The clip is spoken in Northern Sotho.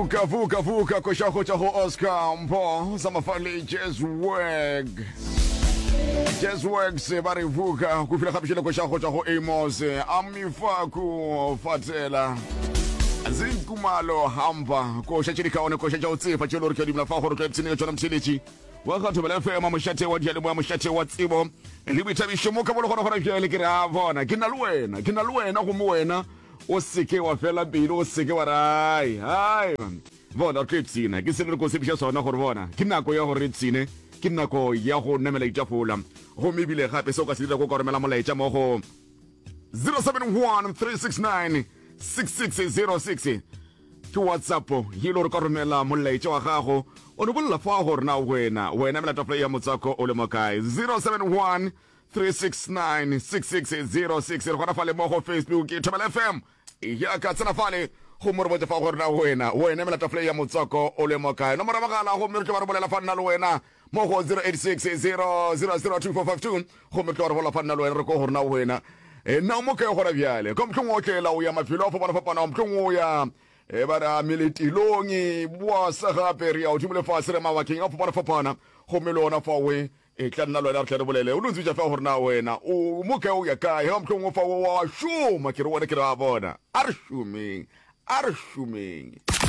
Vuka vuka vuka koša go tšwa go Oscar Mpho sa mafale Jazz Work. Jazz Works ba re vuka go fila gape šele koša go tšwa go Amos Amifaku Fatela. Zinkumalo hamba koša tše di kaone koša tša go tsefa tše le gore ke dumela fa gore tlo ipshine ka tšona mtheletši wa ga Thobela FM mošate wa diyalemoya mošate wa tsebo le boithabišo mo ka bolo gona gona bjale ke re a bona ke na le wena ke na le wena gomme wena O se ke wa fela pelo, o se ke wa re, Ai, ai. Bona, re tlo ipshina. Ke selo re ko tshepiša sona, gore bona, ke nako ya gore re ipshine. Ke nako ya go namela ditafola. Gomme ebile gape se o ka se dira ke o ka romela molaetša mo go 071 369 6606. Ke WhatsApp ye le gore ka romela molaetša wa gago o no bolela fa gore na wena wena mela tafola ya motswako o le mo kae. 071 3696606 re gona fale mo go Facebook ke Thobela FM ya ka tsena fale gomme re botse fa gore na wena wena emela tafole ya motswako o le mo kae nomoro ya mogala gomme re tlo ba re bolela fa nna le wena mo go 0860002452 gomme tlo ba re bolela fa nna le wena re ko gore na wena e na o mo kae gona bjale ka mohlong o tlela o ya mafelo a fapana-fapana mohlong o ya e ba re a meletilong boa sa gape re ya godimo lefase re mabakeng a fapana-fapana gomme le ona fawe E tla nna le wena re tle re bolele. O no ntsebitša fela gore na wena o mo kae o ya kae. Ge mohlomongwe fa wa šoma ke re wena ke re a bona. A re šomeng. A re šomeng.